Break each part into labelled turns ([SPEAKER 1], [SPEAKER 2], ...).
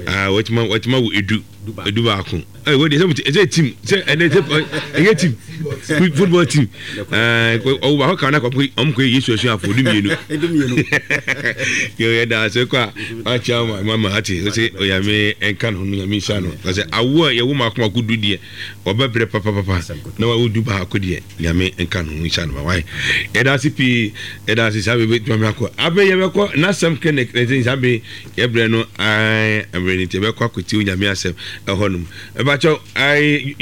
[SPEAKER 1] Ah, watuma watuma wo edu edu baako. Ɛ wo de sɛ ɛsɛ team sɛ ɛnɛ sɛ ɛyɛ team football team. Ɛɛ ɔwɔ baako kan na kɔ ɔmo kɔ Yesu asuafo du mmienu.
[SPEAKER 2] Du mmienu.
[SPEAKER 1] Yɛ yɛ da ase kɔ a wakyɛ ama mama ate ɔsɛ onyame nka ne ho no nyame nhyira no. Ɔsɛ awo a yɛwo mako mako du deɛ ɔbɛbrɛ papapapa na wawo du baako deɛ nyame nka ne ho nhyira no ma wae. Yɛda ase pii yɛda ase saa bebe tuma mi akɔ. Afei yɛbɛkɔ n'asɛm clinic na ɛsɛ saa bere yɛbrɛ no ae mmerɛ no nti yɛbɛkɔ akɔtie onyame asɛm ɛhɔ nom. Ɛbakyɛw ae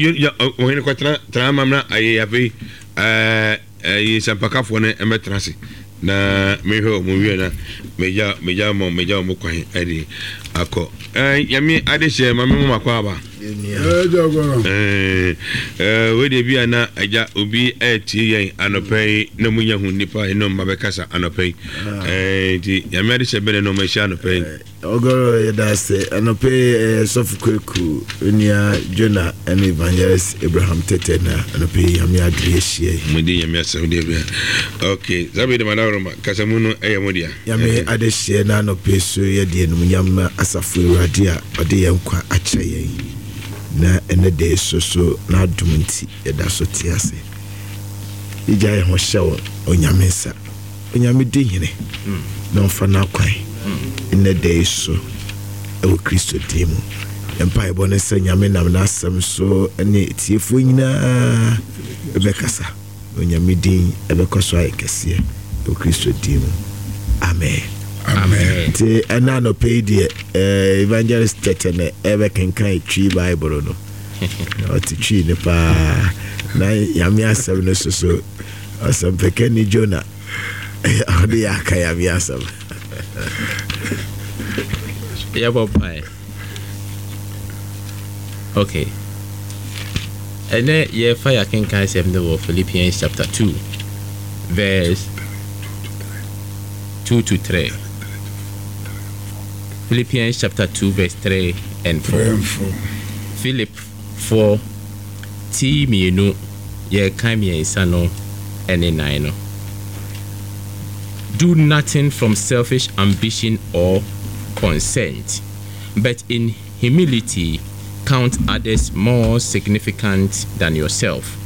[SPEAKER 1] ɔhene kɔtena tena ama mena aye afei ɛɛ Ɛyi nsɛmpakafoɔ no mmɛtena ase na mehwɛ wɔn wie na megya megya wɔn megya wɔn kwan ɛde akɔ. Ɛɛ nyame adehyɛ ma me mo makɔ aba. Ɛɛ ɛɛ wei deɛ bi a na agya obi ɛretie yɛn anɔpɛ yi na mo nya hu nipa yi na ɔmo abɛkasa anɔpɛ yi. Ɛɛ nti nyame adehyɛ bɛn na ɔmo ahyia anɔpɛ yi.
[SPEAKER 3] Ɔgɔrɔ yɛda ase anɔpa yi ɛyɛ sɔfo Kweku onua Jonah ɛne Evangelist Abraham Tete na anɔpa yi Nyame adom yɛahyia yi.
[SPEAKER 1] Mo di Nyame asɛm deɛ bia. Ok saa bere de madaworo ma kasamu no ɛyɛ mo dea.
[SPEAKER 3] Nyame adehyeɛ na anɔpa yi so yɛde animuonyam ma asafo Awurade a ɔde yɛn nkwa akyɛ yɛn na ɛnɛ da yi so so n'adom nti yɛda so te ase. Yɛgya yɛn ho hyɛ Onyame nsa. Onyame di hene na ɔmfa n'akwan nnɛ da yi so wɔ Kristo din mu. Yɛn mpaebɔ ne sɛ Nyame nam n'asɛm so ne atiefoɔ nyinaa bɛkasa na Onyame din bɛkɔ so ayɛ kɛseɛ wɔ Kristo din mu. Amen.
[SPEAKER 1] Amen.
[SPEAKER 3] Nti ɛna anɔpɛ yi deɛ eh, Evangelist Tɛtɛ na ɛbɛkenkan Twi Bible no. Ɔte Twi no paa na Nyame asɛm no soso Ɔsɛmpakani Jonah ɔde yɛ aka Nyame asɛm.
[SPEAKER 4] Yɛbɔ mpae. Okay. Ɛnɛ yɛfa yɛakenkan asɛm no wɔ Philippians chapter 2 verse 2 to 3. Philippians chapter 2 verse 3 and 4. Philip 4 Ti mmienu, yɛrekan mmiɛnsa no ne nan no. Do nothing from selfish ambition or conceit, but in humility count others more significant than yourself.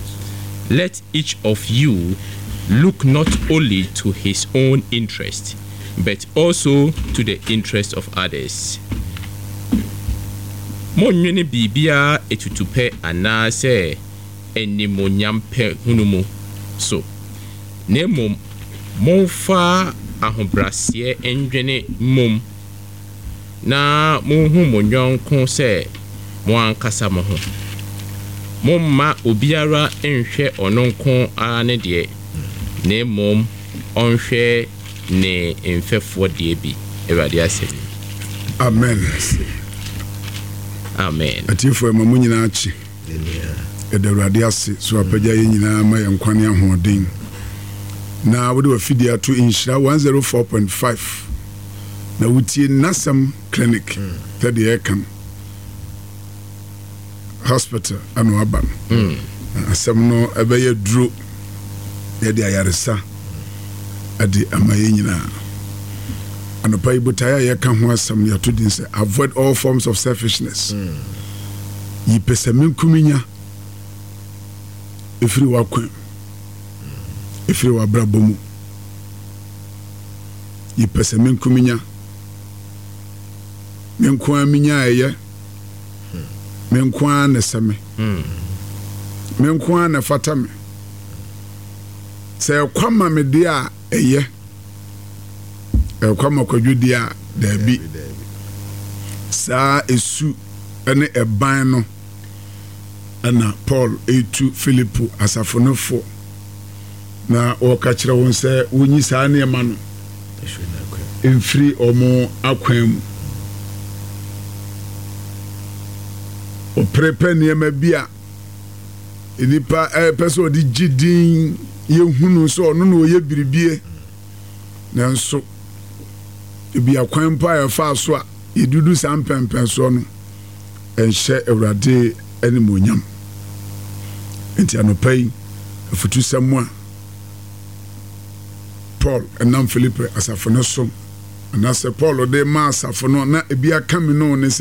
[SPEAKER 4] Let each of you look not only to his own interest, but also to the interest of others. Monnwene biribiara atutupɛ anaasɛ animuonyampɛ hunu mu so, na mmom momfa ahobrɛaseɛ nnwene mmom, na monhu mo yɔnko sɛ mo ankasa mo ho. Momma obiara nnhwɛ ɔno nko ara ne deɛ, na mmom ɔnhwɛ ne mfɛfoɔ deɛ bi. Awurade asɛm ni.
[SPEAKER 5] Amen.
[SPEAKER 4] Amen.
[SPEAKER 5] Atiefoɔ ɛma mo nyinaa kye. Yɛda Awurade ase so apagya yɛn nyinaa ma yɛn nkwa ne ahoɔden. Na wode w'afidie ato Nhyira 104.5 na wotie Nasɛm Clinic sɛdeɛ yɛka no. Hospital ana waba no. Na asɛm no ɛbɛyɛ duro yɛde ayaresa ɛde ama yɛn nyinaa. Anɔpa yi botaeɛ a yɛka ho asɛm no yɛato din sɛ avoid all forms of selfishness. Yi pɛsɛmenkominya ɛfiri w'akwan mu, ɛfiri w'abrabɔ mu. Yi pɛsɛmenkominya. Me nko ara menya a ɛyɛ. Me nko ara na ɛsɛ me. Me nko ara na ɛfata me. Sɛ ɛkwa ma me deɛ a, ɛyɛ. Ɛkwa ma Kwadwo deɛ a, daabi. Saa esu ne ɛban no na Paul retu Filipo asafo no fo na ɔreka kyerɛ wɔn sɛ wonyi saa nneɛma no mfiri wɔn akwan mu. Ɔpere pɛ nneɛma bi a nnipa pɛ sɛ ɔde gye din yɛhunu sɛ ɔno na ɔyɛ biribie nanso ebi akwan mpo a yɛfaa so a yɛdudu saa mpɛnpɛnsoɔ no ɛnhyɛ Awurade animuonyam. Enti anɔpa yi afutusɛm a Paul nam Filipi asafo no so anaasɛ Paul de ma asafo no na ebi aka me no ne sɛ.